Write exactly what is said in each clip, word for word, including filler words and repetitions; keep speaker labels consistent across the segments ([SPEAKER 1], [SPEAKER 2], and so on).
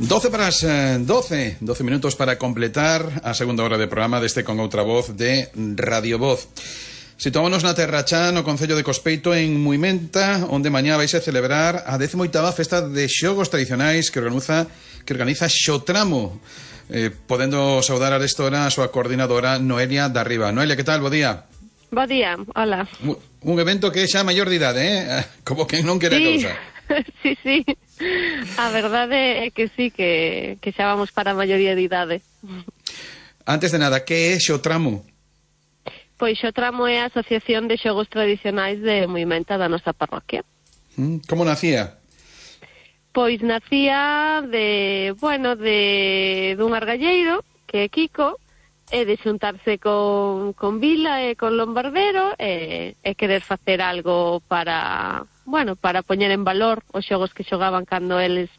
[SPEAKER 1] doce para as doce, doce minutos para completar a segunda hora de programa deste Con Outra Voz de Radio Voz. Situámonos na Terra Chá, no concello de Cospeito, en Muimenta, onde mañá vais a celebrar a décima oitava festa de xogos tradicionais que organiza, que organiza Xotramo. Eh, podendo saudar a esta hora a súa coordinadora Noelia Darriba. Noelia, que tal? Bo día.
[SPEAKER 2] Bo día, hola.
[SPEAKER 1] Un evento que é xa maior de idade, eh? Como que non quere
[SPEAKER 2] sí.
[SPEAKER 1] a cousa.
[SPEAKER 2] Sí, sí. A verdade é que sí, que, que xa vamos para a maioría de idade.
[SPEAKER 1] Antes de nada, que é Xotramo?
[SPEAKER 2] Pois Xotramo é a Asociación de Xogos Tradicionais de Muimenta da nosa parroquia.
[SPEAKER 1] Como nacía?
[SPEAKER 2] Pois nacía de, bueno, de dun argalleiro, que é Kiko, e de xuntarse con, con Vila e con Lombardero e, e querer facer algo para, bueno, para poñer en valor os xogos que xogaban cando eles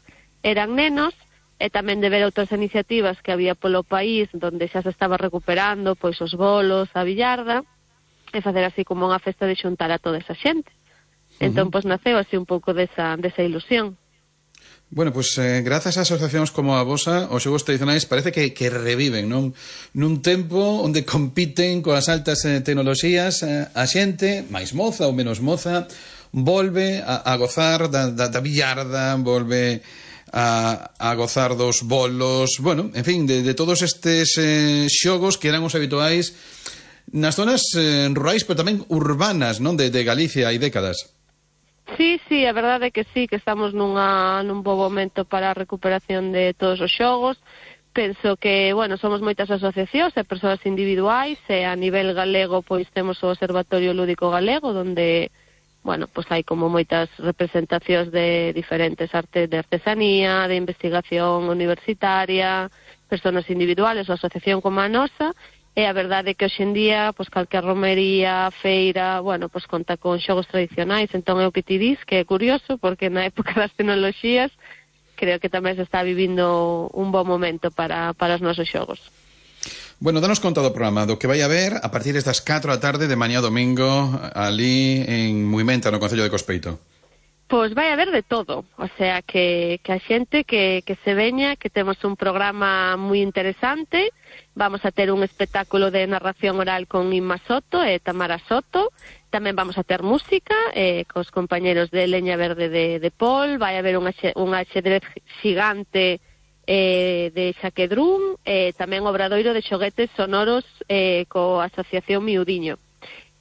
[SPEAKER 2] eran nenos, e tamén de ver outras iniciativas que había polo país onde xa se estaba recuperando pois os bolos, a billarda, e facer así como unha festa de xuntar a toda esa xente. Entón, uh-huh. pois naceu así un pouco desa, desa ilusión.
[SPEAKER 1] Bueno, pois pues, eh, grazas a asociacións como a vosa, os xogos tradicionais parece que, que reviven, non? Nun tempo onde compiten coas altas eh, tecnoloxías, eh, a xente, máis moza ou menos moza, volve a, a gozar da, da, da billarda, volve a, a gozar dos bolos, bueno, en fin, de, de todos estes eh, xogos que eran os habituais nas zonas eh, rurais, pero tamén urbanas, non? De, de Galicia hai décadas.
[SPEAKER 2] Sí, sí, a verdade é que sí, que estamos nunha, nun bo momento para a recuperación de todos os xogos. Penso que, bueno, somos moitas asociacións e persoas individuais, e a nivel galego, pois temos o Observatorio Lúdico Galego, onde, bueno, pois hai como moitas representacións de diferentes artes de artesanía, de investigación universitaria, persoas individuales ou asociación como a nosa. E a verdade é que hoxendía, pois, calquer romería, feira, bueno, pois conta con xogos tradicionais, entón é o que ti dis, que é curioso, porque na época das tecnoloxías creo que tamén se está vivindo un bon momento para, para os nosos xogos.
[SPEAKER 1] Bueno, danos conta do programa, do que vai haber a partir das catro da tarde de mañá domingo, ali en Muimenta, no concello de Cospeito.
[SPEAKER 2] Pois vai haber de todo, o sea, que, que a xente que, que se veña, que temos un programa moi interesante. Vamos a ter un espectáculo de narración oral con Inma Soto e Tamara Soto. Tamén vamos a ter música eh, cos compañeros de Leña Verde de, de Pol. Vai haber un, axe, un axedrez xigante eh, de Xaquedrún, e tamén obradoiro de xoguetes sonoros eh, coa Asociación Miudiño.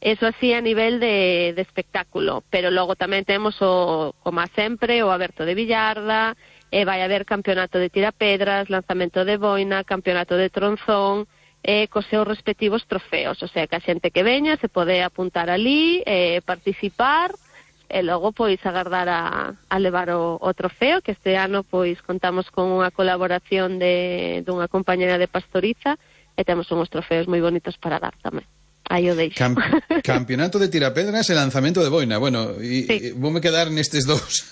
[SPEAKER 2] Eso así a nivel de, de espectáculo, pero logo tamén temos o, como sempre, o aberto de billarda, e vai haber campeonato de tirapedras, lanzamento de boina, campeonato de tronzón, e cos seus respectivos trofeos. O sea, que a xente que veña se pode apuntar ali, e participar, e logo pois agardar a, a levar o, o trofeo, que este ano pois contamos con unha colaboración de dunha compañera de Pastoriza, e temos uns trofeos moi bonitos para dar tamén. Aí o deixo.
[SPEAKER 1] Camp campeonato de tirapedras e lanzamento de boina. Bueno, e, sí. e voume quedar nestes dous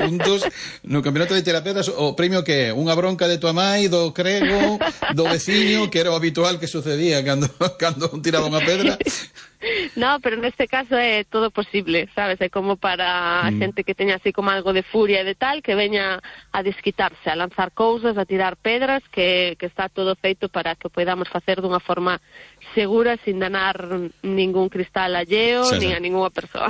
[SPEAKER 1] puntos. No campeonato de tirapedras, o premio que é? Unha bronca de tua mai, do crego, do veciño, que era o habitual que sucedía cando, cando un tiraba unha pedra.
[SPEAKER 2] No, pero neste caso é todo posible, sabes? É como para a mm. xente que teña así como algo de furia e de tal, que veña a desquitarse, a lanzar cousas, a tirar pedras, que, que está todo feito para que podamos facer dunha forma segura, sin danar ningún cristal alleo, sí, nin a ninguna persoa.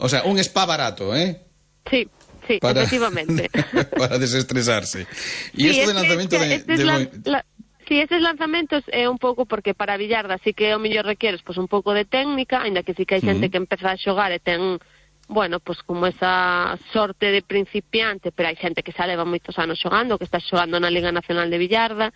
[SPEAKER 1] O sea, un spa barato, eh?
[SPEAKER 2] Sí, sí, para, efectivamente.
[SPEAKER 1] Para desestresarse. E sí, isto de lanzamento de... de...
[SPEAKER 2] La, la... Si, sí, eses lanzamentos é un pouco porque para a billarda sí que o mellor requeres pois un pouco de técnica, aínda que sí que hai xente uh -huh. que empeza a xogar e ten, bueno, pois como esa sorte de principiante, pero hai xente que xa leva moitos anos xogando, que está xogando na Liga Nacional de Billarda,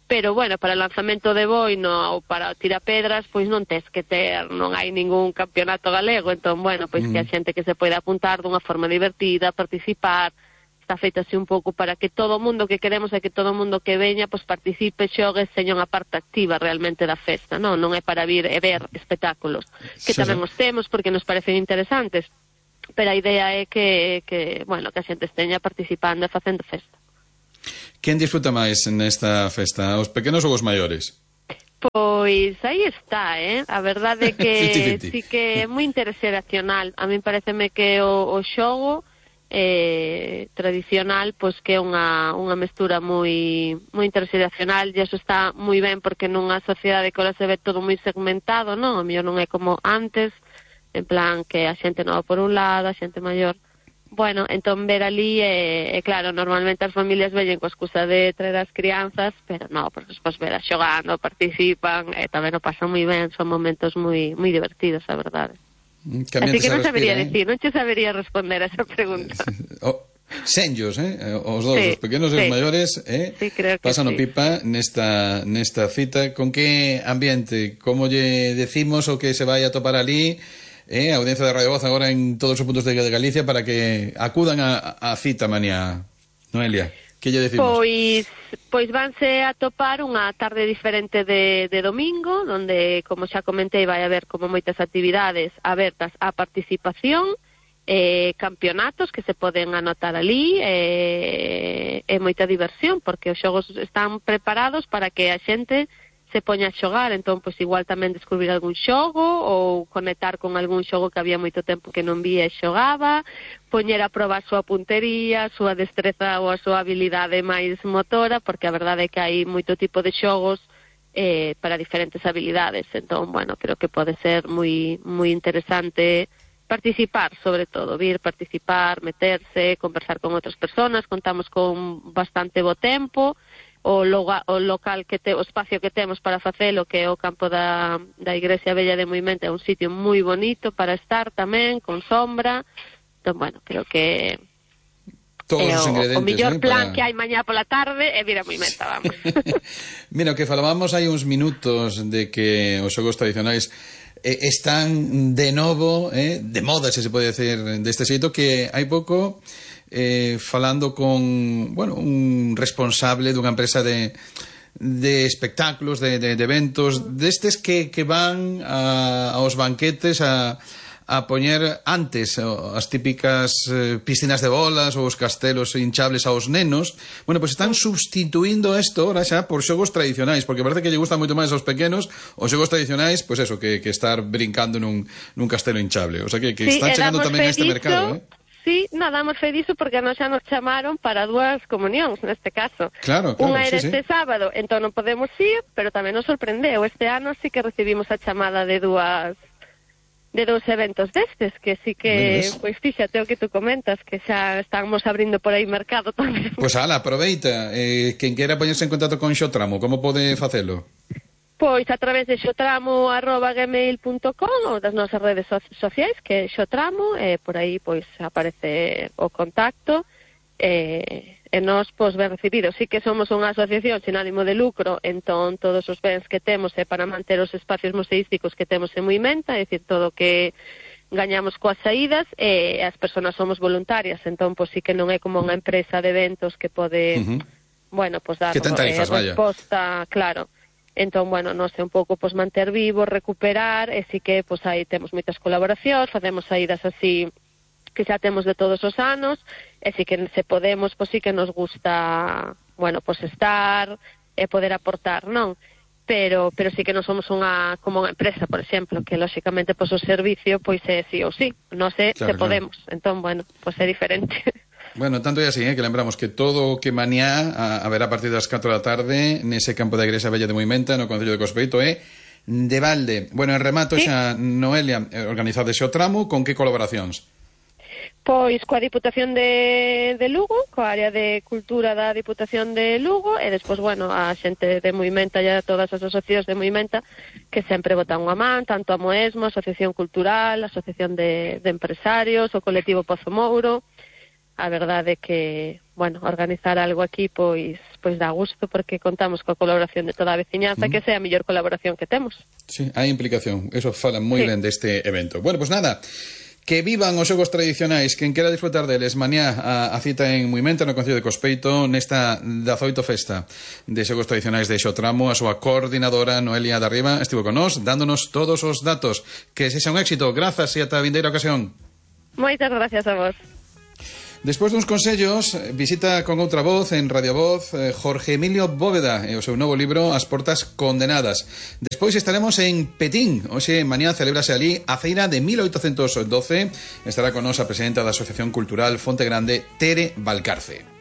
[SPEAKER 2] pero bueno, para o lanzamento de boino ou para tirapedras, pois non tes que ter, non hai ningún campeonato galego, entón, bueno, pois uh -huh. que a xente que se pode apuntar dunha forma divertida, participar. Está feito así un pouco para que todo o mundo que queremos é que todo o mundo que veña pois participe, xogue, seña unha parte activa realmente da festa, non? Non é para vir e ver espectáculos, que sí, tamén os temos porque nos parecen interesantes, pero a idea é que, que, bueno, que a xente esteña participando e facendo festa.
[SPEAKER 1] Quen disfruta máis nesta festa, os pequenos ou os maiores?
[SPEAKER 2] Pois aí está, eh? A verdade é que sí que é moi intereseracional. A mí pareceme que o, o xogo eh, tradicional, pois que é unha, unha mestura moi moi interxeracional, e iso está moi ben porque nunha sociedade que ahora se ve todo moi segmentado, non? A mellor non é como antes, en plan que a xente nova por un lado, a xente maior. Bueno, entón ver ali, é, é claro, normalmente as familias veñen coa excusa de traer as crianzas, pero non, porque despois ver as xogando, participan, e tamén o pasan moi ben, son momentos moi moi divertidos, a verdade.
[SPEAKER 1] Que
[SPEAKER 2] Así que non
[SPEAKER 1] respira,
[SPEAKER 2] sabería
[SPEAKER 1] eh?
[SPEAKER 2] decir, non che sabería responder a esa pregunta.
[SPEAKER 1] Oh, senllos, eh? Os dous,
[SPEAKER 2] Sí,
[SPEAKER 1] os pequenos e os
[SPEAKER 2] sí.
[SPEAKER 1] maiores, eh?
[SPEAKER 2] Sí, creo que
[SPEAKER 1] pasan o
[SPEAKER 2] sí.
[SPEAKER 1] pipa nesta, nesta cita. Con que ambiente? Como lle decimos o que se vai a topar ali? Eh, a audiencia de Radio Voz agora en todos os puntos de, de Galicia para que acudan a, a cita mañá. Noelia, que lle decimos?
[SPEAKER 2] Pois, pois vanse a topar unha tarde diferente de, de domingo, onde, como xa comentei, vai haber como moitas actividades abertas á participación, eh, campeonatos que se poden anotar ali, eh, e moita diversión, porque os xogos están preparados para que a xente se poña a xogar, entón, pois, igual tamén descubrir algún xogo ou conectar con algún xogo que había moito tempo que non vía e xogaba, poñer a proba a súa puntería, a súa destreza ou a súa habilidade máis motora, porque a verdade é que hai moito tipo de xogos eh, para diferentes habilidades, entón, bueno, creo que pode ser moi moi interesante participar, sobre todo, vir participar, meterse, conversar con outras persoas, contamos con bastante bo tempo, o, loga, o local que te, o espacio que temos para facelo, que é o campo da, da Igrexa Vella de Moimenta, é un sitio moi bonito para estar tamén, con sombra. Entón, bueno, creo que
[SPEAKER 1] todos
[SPEAKER 2] é
[SPEAKER 1] os
[SPEAKER 2] o, o mellor
[SPEAKER 1] eh,
[SPEAKER 2] plan
[SPEAKER 1] para...
[SPEAKER 2] que hai mañá pola tarde é vir a Moimenta, vamos.
[SPEAKER 1] Mira, o que falábamos hai uns minutos de que os xogos tradicionais eh, están de novo, eh, de moda, se se pode decir deste xeito, que hai pouco eh, falando con, bueno, un responsable dunha empresa de de espectáculos, de, de, de eventos, destes que, que van a, aos banquetes a a poñer antes as típicas eh, piscinas de bolas ou os castelos hinchables aos nenos. Bueno, pois pues están substituindo isto ahora xa por xogos tradicionais, porque parece que lle gustan moito máis aos pequenos os xogos tradicionais, pois pues eso, que, que estar brincando nun, nun castelo hinchable. O sea que, que
[SPEAKER 2] sí,
[SPEAKER 1] están chegando tamén a este
[SPEAKER 2] diso,
[SPEAKER 1] mercado, eh?
[SPEAKER 2] Sí, nada, damos fe diso porque nos xa nos chamaron para dúas comunións, neste caso.
[SPEAKER 1] Claro, claro,
[SPEAKER 2] Unha era
[SPEAKER 1] sí,
[SPEAKER 2] este
[SPEAKER 1] sí.
[SPEAKER 2] sábado, entón non podemos ir, pero tamén nos sorprendeu. Este ano sí que recibimos a chamada de dúas de dous eventos destes, que sí que, pois fíxate o que tú comentas, que xa estamos abrindo por aí mercado tamén.
[SPEAKER 1] Pois pues, ala, aproveita. Eh, quen quera poñerse en contacto con Xotramo, como pode facelo?
[SPEAKER 2] Pois a través de xotramo arroba gmail punto com ou das nosas redes so sociais, que é Xotramo, e por aí pois aparece o contacto, e, e nós pois ben recibidos. Sí que somos unha asociación sin ánimo de lucro, entón todos os bens que temos é para manter os espacios museísticos que temos en Moimenta, é dicir, todo o que gañamos coas saídas, e as persoas somos voluntarias, entón pois sí que non é como unha empresa de eventos que pode, uh -huh. bueno, pois dar
[SPEAKER 1] que ten tarifas,
[SPEAKER 2] eh, resposta, vaya. Claro. Entón, bueno, non sei, un pouco pois manter vivo, recuperar, e sí que pois aí temos moitas colaboracións, facemos saídas así que xa temos de todos os anos, e sí que se podemos, pois sí que nos gusta, bueno, pois estar e poder aportar, non? Pero pero sí que non somos unha como unha empresa, por exemplo, que lóxicamente pois o servicio pois é sí ou sí, non sei
[SPEAKER 1] claro,
[SPEAKER 2] se podemos. Claro. Entón, bueno, pois é diferente.
[SPEAKER 1] Bueno, tanto é así, eh, que lembramos que todo o que mañá a, a ver a partir das catro da tarde nese campo da Igrexa Vella de Moimenta, no Concello de Cospeito, é de balde. Bueno, en remato
[SPEAKER 2] ¿Sí?
[SPEAKER 1] xa, Noelia, organizado ese o tramo, con que colaboracións?
[SPEAKER 2] Pois coa Diputación de, de Lugo, coa área de cultura da Diputación de Lugo, e despois, bueno, a xente de Moimenta e todas as asociacións de Moimenta que sempre botan unha man, tanto a Moesmo, a Asociación Cultural, a Asociación de, de Empresarios, o colectivo Pozo Mouro. A verdade é que, bueno, organizar algo aquí pois pois dá gusto porque contamos coa colaboración de toda a veciñanza, mm. que sea a mellor colaboración que temos.
[SPEAKER 1] Sí, hai implicación, eso fala moi sí. ben deste evento. Bueno, pois pues nada, que vivan os xogos tradicionais, quen quera disfrutar deles mañá a, a cita en Moimenta, no Concello de Cospeito, nesta dezaoito festa de xogos tradicionais de Xotramo, a súa coordinadora Noelia Darriba estivo con nós, dándonos todos os datos. Que sexa un éxito, grazas e ata a vindeira ocasión.
[SPEAKER 2] Moitas gracias a vos.
[SPEAKER 1] Despois duns consellos, visita con outra voz en Radio Voz eh, Jorge Emilio Bóveda e o seu novo libro As portas condenadas. Despois estaremos en Petín. Hoxe, mañá, celebrase ali a feira de mil oitocentos doce. Estará con nos a presidenta da Asociación Cultural Fonte Grande, Tere Valcarce.